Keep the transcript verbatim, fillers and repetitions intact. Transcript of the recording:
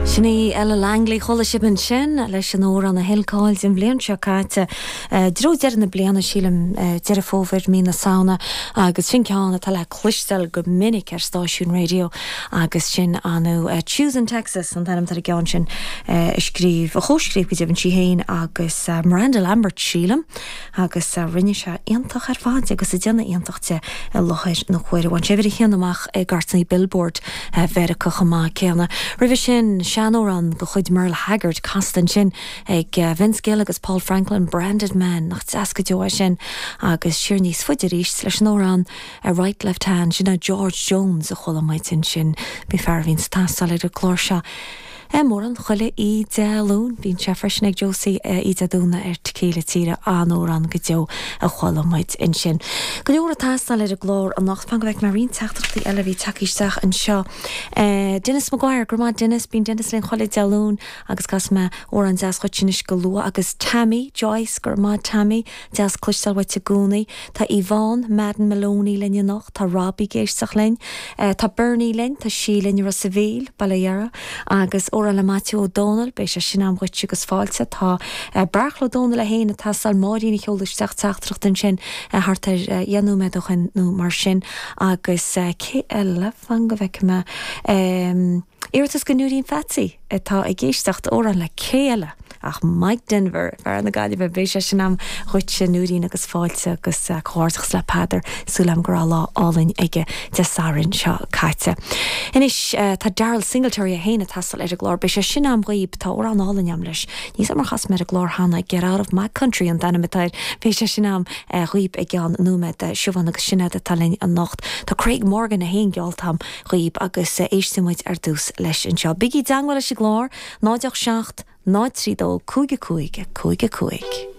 Sin í Ella Langley chuala sibh ansin leis an amhrán a thuill cáil an bhliain seo caite. I dtreo deireadh na bliana sílim Deireadh Fómhair mí na Samhna agus sin ceann atá le cloisteáil go minic ar stáisiún raidió agus sin anu Choosing Texas an t-ainm ar an gceann sin a scríobh a chomhscríobh go deimhin sí féin agus Miranda Lambert sílim agus rinne sé iontach ar fad agus a déanamh iontach de i láthair na huaire. Bhain sé uimhir a haon amach i gcairteanna Billboard Mheiriceá chomh maith céanna. Roimhe sin seanamhrán de chuid Merle Haggard casta ansin ag Vince Gill agus Paul Franklin Branded Man nach deas go deo sin agus siar níos faide arís leis an amhrán a right left hand sin a George Jones a chuala muid ansin bhí fear a bhíonn ag taisteal ar an gclár seo. E mór an chuile í de lún bíonn sé freisin ag Josie í de dúna ar céile tíre an-amhrán go deo a chuala muid ansin. Go leor ag teastáil ar an gclár anocht fan go bhfeicfidh mé roinnt teachtaireachtaí eile bhí tagtha isteach anseo. Uh, Dennis Maguire go maith Dennis bíonn Dennis linn chuile Dé Luain agus casfaidh mé amhrán deas dhuit anois go luath agus Tammy Joyce go maith Tammy deas cloisteáil uait i gcónaí Tá Yvonne Madden Maloney linn anocht tá Robbie ag éisteacht linn uh, tá Bernie linn tá sí linn Ros an Mhíl Baile Dheara agus amhrán le Maitiú Ó Dónaill beidh sé sin agam dhuit agus fáilte tá uh, Beartla Ó Dónaill é féin ag teastáil Máirín a sheol isteach teachtaireacht ansin uh, thart ar uh, dhéanú mé chun nó mar sin agus uh, cé eile fan go bhfeicfidh mé um, Iarratas go Núirín Fatí atá ag éisteacht amhrán le cé eile ach Mike Denver fear na Gaillimhe beidh sé sin agam dhuit Núirín agus fáilte agus uh, comhghairdeachas le Peadar súil agam go raibh lá álainn aige Dé Sathairn seo caite. Anois uh, tá Daryle Singletary é féin ag teastáil ar an gclár beidh sé sin agam dhaoibh tá amhrán álainn agam leis. Ní mar chas mé ar an gclár cheana Get out of my country an t-ainm atá air beidh sé sin agam uh, dhaoibh i gceann nóiméad Siobhán agus Sinéad atá linn anocht. Tá Craig Morgan é féin geallta agam dhaoibh agus uh, éistfidh muid ar dtús leis anseo. Bígí i dteagmháil leis an gclár náid seacht náid trí dó cúig cúig cúig cúig.